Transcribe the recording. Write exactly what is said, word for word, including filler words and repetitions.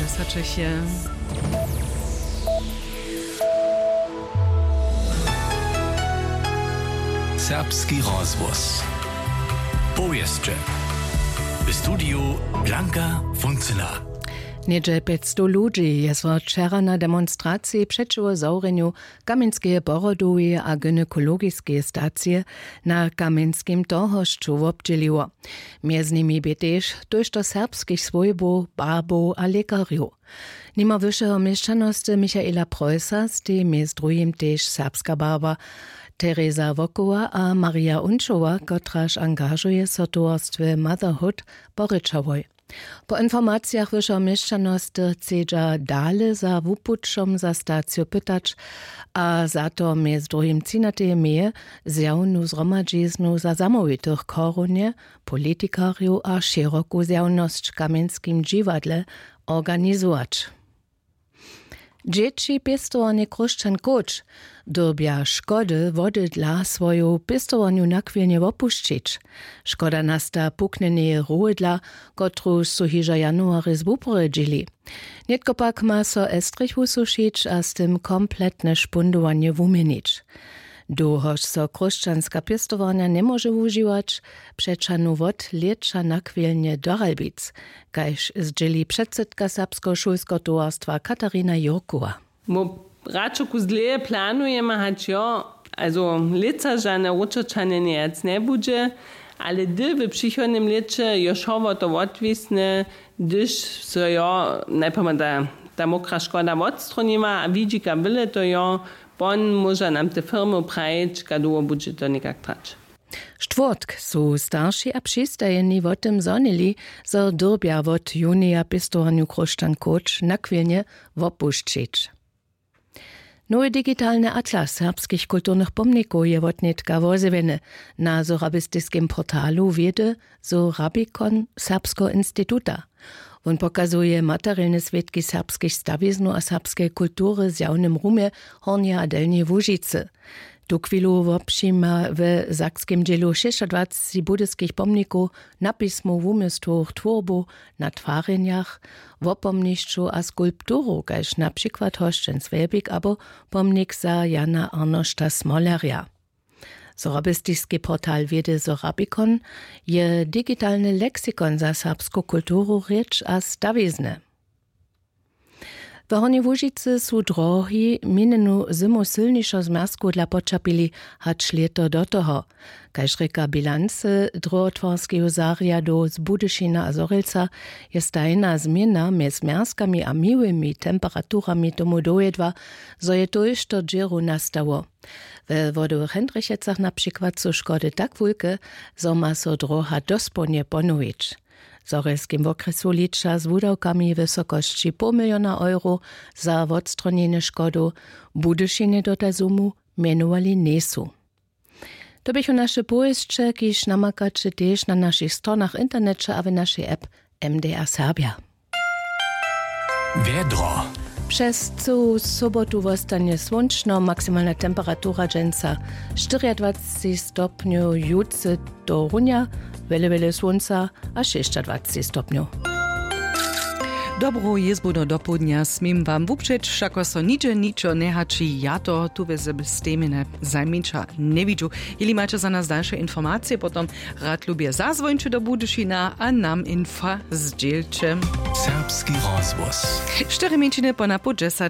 Sačech je. Serbski rozhłos. Powěsće. W studiju Blanka Funcyna. Něhdźe pjećstow ludźi je so wčera na demonstraciji přećiwo zawrjenju kamjenskeje porodoweje a gynekologiskeje stacije na kamjenskim torhošću wobdźěliło. Mjez nimi bě tež tójšto serbskich swójbow, barbow a lěkarjow. Nimo wyšeho měšćanosty Michaela Preusser stej mjez druhim tež serbska barba Tereza Wokowa a Maria Unčowa, kotraž angažuje so w towarstwje Motherhood po rěčałoj. Po informacijach wyšeho měšćanosty chcedźa dale za wupućom za staciju pytać a za to mjez druhim třinateje meje zjawnu zhromadźiznu za zamołwitych w chorunje, politikarjow a šěroku zjawnosć w kamjenskim dźiwadle organizować. Dźěći pěstowarnje Chróšćan Kóć dyrbja škody wody dla swoju pěstowarnju nachwilnje wopušćić. Škoda nasta puknjeneje rowy dla, kotruž su hižo w januarje zwuporjedźili. Nětko pak ma so estrich wusušić a z tym kompletne špundowanje wuměnić. Dołhož so chróšćanska pěstowarnja njemóže wužiwać, přećahnu wot lěća nachwilnje do Ralbic, kaž zdźěli předsydka serbskeho šulskeho towarstwa Katarina Jurkowa. Mu radšoku zleje planujemy, hač jo, also lětsa žane wróćoćanje njejac njebudźe, ale hdy w přichodnym lěće jo wšo wo to wotwisne, hdyž so jo najprjema ta, ta mokra škoda wotstronima a widźika wyle to jo, pon móža nam te firmy prajić, kaž dołho budźe to někak trać. Štwórtk su starši a přistajeni wo tym zhonili, zo dyrbja wot junija pěstowarnju Chróšćan Kóć nachwilnje wopušćić. Nowy digitalny atlas serbskich kulturnych pomnikow je wotnětka wozjewjeny na sorabistiskim portalu wědy Sorabikon Serbskeho instituta. Wón pokazuje materielne swědki serbskich stawiznow a serbskeje kultury w zjawnym rumje Hornjeje a Delnjeje Łužicy. Tuchwilu wobpřijima we sakskim dźělu šěsćadwaceći budyskich pomnikow, napismow, wuměstwowych twórbow na twarjenjach, wopomnišćow a skulpturow, kaž na přikład hosćenc Wjelbik abo pomnik za Jana Arnošta Smolerja. Sorabistiski portal wědy Sorabikon je digitalny leksikon za serbsku kulturu, rěč a stawizny. W Hornjej Łužicy su drohi minjenu zymu sylnišo z mjazkow dla poćerpili hač lěto do toho. Kaž rěka bilancy dróhotwarskeju zarjadu z Budyšina a Zhorjelca, je stajna změna mjez mjazkami a miłymi temperaturami tomu dowjedła, zo je tójšto dźěrow nastało. We Wodowych Hendrichecach na přikład su škody tak wulke, zo ma so dróha dospołnje ponowić. W Zhorjelskim wokrjesu liča z wudawkami w wysokosći poł miliona euro za wotstronjenje škodow, w Budyšinje do tazumu mjenowali njejsu. To běchu naše powěsće, kiž namakaće tež na našich stronach w interneće a w našej app M D R Serbja. Wjedro. Přez cyłu sobotu wostanje słónčno, maksimalna temperatura dźensa štyriadwaceći stopnjow, jutře do runja wjele wjele słónca a šěsćadwaceći stopnjow. Dobru jězbu do dopołdnja směm wam wupřeć, wšako so nihdźe ničo njehaći, ja to tu we Stemjenje zajmniča njewidźu. Jeli maće za nas dalše informacije, potom rad lubje zazwońće do Budyšina a nam infa zdźělće. Serbski rozhłos. Štyri mjeńšiny po na poł dźesać.